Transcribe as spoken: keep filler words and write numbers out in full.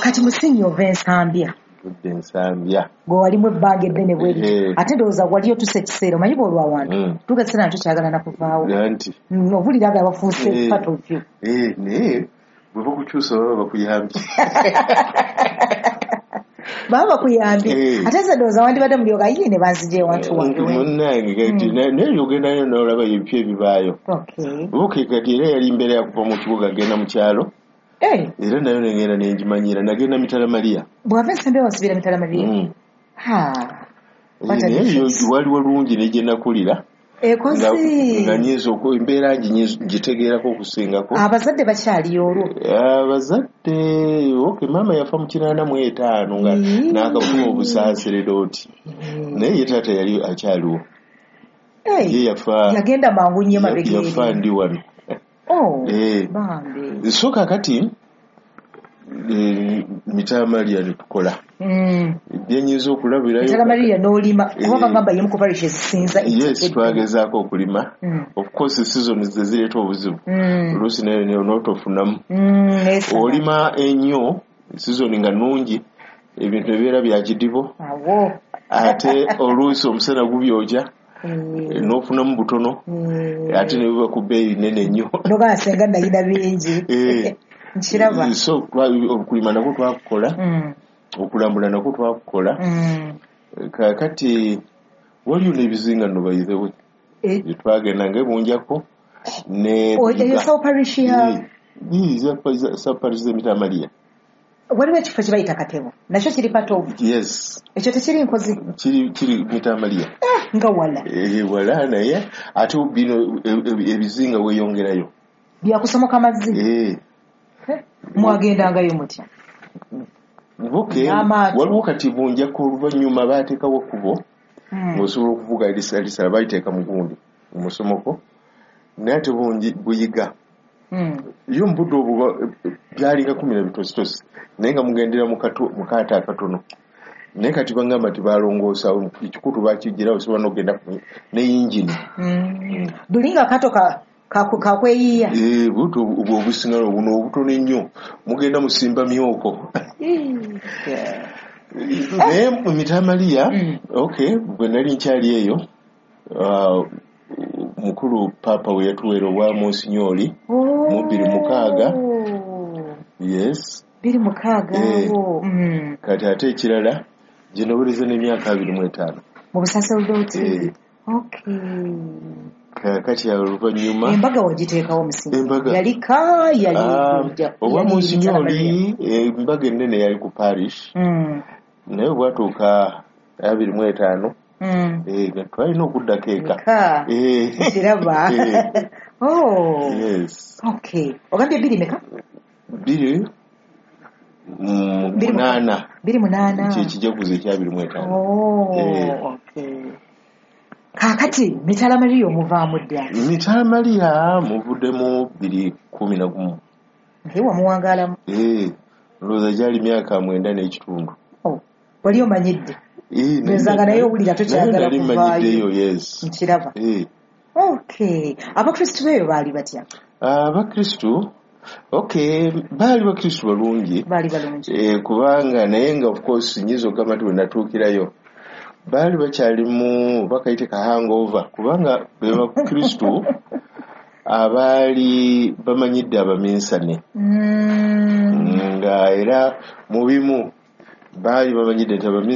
Kati musinyi ova Ensambya. Tudde Ensambya. Gwe walimu ebbanga eddene bweri. Eh. Ate ndowooza wali otusa ekiseera, omanyi bw'olwa wantu Mm. tuuka ekiseera nga tokyagala nakuvaawo. Anti Mm, owulira nga bafuuse Eh. part of you. Eh, naye bwe bakukyusa baba bakuyambye. Baba bakuyambye. Eh. Ate nze ndowooza wandibadde mulyoka ye ne banzija ewantu wange we. Munnange, kati na- naye ogendayo n'olaba ebipya ebibaayo. Okay. Okay, kati era yali mbeera yakuva mu kibuga agenda mu kyalo. Eh, era nayo nengenda nengimanyira, nagenda Mitala Maria. Bw'ava Ensambya wasubira Mitala Maria. Mm. Ha. What a Eh, naye yo difference. wali walungi ne gye nakulira nga Ekozi. nga nyinza oku- embeera ngi ngitegeerako okusingako. Abazadde bakyaliyo olwo? Abazadde, okay, maama yafa mu kinaana mu etaano nga Mm. n'akafuna obusaaseredooti, naye ye taata yali akyaliwo. Eh, ye yafa yagenda mangu nnyo emabega yafa eri. Ndi wano. Oh, Eh. bambi. So kakati eh, Mitala Maria netukola Mm. byenyinza okulabirayo. Mitala Maria n'olima kuba Eh. bagamba yemu ku parish ezisinza. Yes, twagezaako okulima. Mm. Of course season ze zireeta obuzibu. Mm. Oluusi nayo n'otofunamu. Mm, neesaba. Olima ennyo season nga nnungi, ebintu ebibeera bya kidibo. Awo. Ate oluusi omusana gubyokya, Mm. n'ofunamu butono, Mm. ate ne biba ku bbeeyi nene nnyo. Nogaa senga nayina bingi. Eh. Nkiraba. So twa- okulima nakwo twakukola, Mm. okulambula nakwo twakukola. Mm. Kakati waliyo n'ebizinga nno, by the way, Eh, gyetwagenda nga ebunjako ne o- eyo South Parish ya South Parish z'Emitala Maria. Waliwo ekifo kye bayita Katebo, nakyo kiri part of Yes. Ekyo tekiri Nkozi? kiri kiri Mitala Maria. Nga wala. Eh, wala, naye ate bino e- e- ebizinga weeyongerayo. Byakusomoka mazzi? Eh. Eh, mwagendangayo mutya? Okay. N'amaato. Waliwo kati Bunjako, oluvannyuma baateekawo ekkubo Mm. ng'osobola okuvuga lisala, baliteeka mu gundi mu musomoko, naye ate bungi buyiga. Mm. Yo mu budde obwo ba- byalinga kumi na bitositosi, naye nga mugendera mu kato- mu kaato akatono. Naye kati bagamba nti balongoosa ekikutu, bakigirawo, osobola n'okugenda ku- ne yingini. Mm. Buli nga akato ka- ka- kakweyiiya. Eh, buto obwo obusiŋalo buno obutono ennyo, mugenda musimba myoko. Yeah. Naye mu Mitala Maria, Mm. okay, bwe nali nkyali eyo, ah, mukulu papa we yatuweera obwa monsinyooli mu bbiri mukaaga. Yes. Biri mukaaga. Eh. Awo. Mm. Kati ate ekirala gye nawereza n'emyaka abiri mu etaano. Mu busaserdooti? Eh. Okay. Kakati awo oluvannyuma Embaga wagiteekawo musingi? Embaga. Yali ka yali Ah, ja- obwa yali Mitala Maria. monsinyooli, embaga ennene yali ku parish, Mm. naye bwatuuka abiri mu etaano, Mm. eh, nga twalina okuddako eka. Eka. Eh. Kiraba. Eh, Oh. Yes. Okay, ogambye bbiri meka? Bbiri mm, Bbiri mu- munaana. Bbiri munaana. Kyekijaguzo ekyabiri mu etaano. Oh, Eh. okay. Kaakati Mitala Maria omuvaamu dda? Mitala Maria muvuddemu bbiri kumi na gumu. Naye wamuwangaalamu. Eh, ndowooza gyali myaka mwenda n'ekitundu. Oh, wali omanyidde. Eh, naye- Ndowooza nga naye owulira tokyagala naye nali kuvaayo. mmanyiddeyo, yes. Nkiraba. Eh. Okay, abakristu beeyo baali batya? Abakristu, okay, baali bakristu balungi. Baali balungi. Eh, kubanga naye nga of course nyinza okugamba nti bwe natuukirayo baali bakyalimu bakayite ka hangover, kubanga be bakristu abaali bamanyidde abaminsane, Mm. nga era mu bimu baali bamanyidde nti abaminsane